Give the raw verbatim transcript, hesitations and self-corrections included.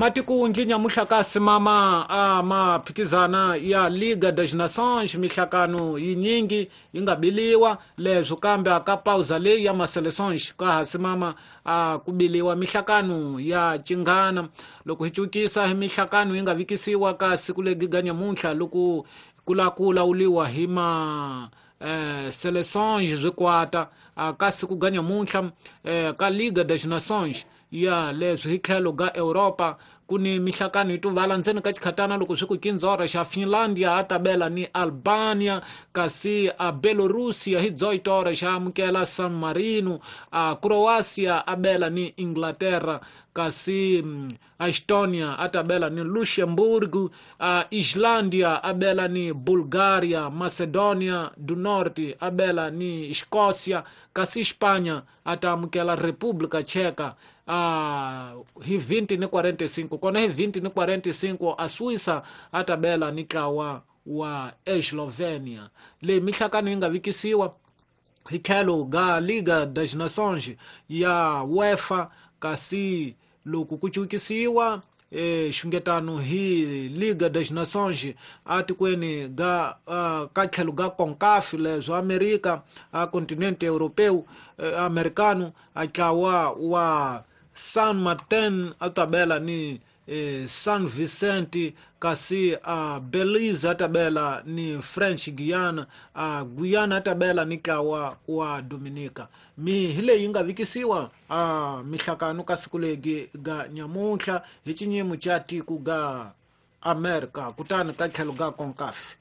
Matikunji nyamuhla ka simama a maphikizana ya Liga das Nações mihlakano yinyingi yi nga biliwa leswo kambe aka pausa leyi ya maseleções ka ha simama a ku biliwa mihlakano ya cingana loko hi cukisa hi mihlakano yi nga vikisiwa ka siku legi ga nyamuntlha loko kula ku lawuliwa hi ma eh, seleções swikwata ka siku ga nyamuntlha eh, ka Liga das Nações ya leswi hi tlhelo ga Europa ku ni mihlakano yi tuvala ndzeni ka xikhatana loko swi ku kinzora xa Finlandia a tabela ni Albania kasi a Belorusia hi dzoitora xa amukela San Marino a Croatia a bela ni Inglaterra kasi Estonia a tabela ni Luxemburgo a Islandia a bela ni Bulgaria Macedonia do Norte a bela ni Escócia kasi Espanha a ta amukela República Tcheca a hi vinte ni quarenta e cinco kona hi vinte ni quarenta e cinco a Suíça a tabela ni ntlawa wa Eslovenia leyi mihlakano yi nga vikisiwa hi tlhelo ga Liga das Nações ya UEFA kasi loko ku cukisiwa eh xungetano hi Liga das Nações atikweni ga uh, ka tlhelo ga CONCACAF leswo Amerika a continente europeu eh, americano a ntlawa wa San Martin a tabela ni eh, San Vicente kasi a Belize a tabela ni French Guiana a Guyana a tabela ni ntlawa wa Dominica mi hi leyi nga vikisiwa a mihlakano ka siku legi ga nyamuntlha hi xinyimo xa tiko ga America kutani ka tlhelo ga CONCACAF.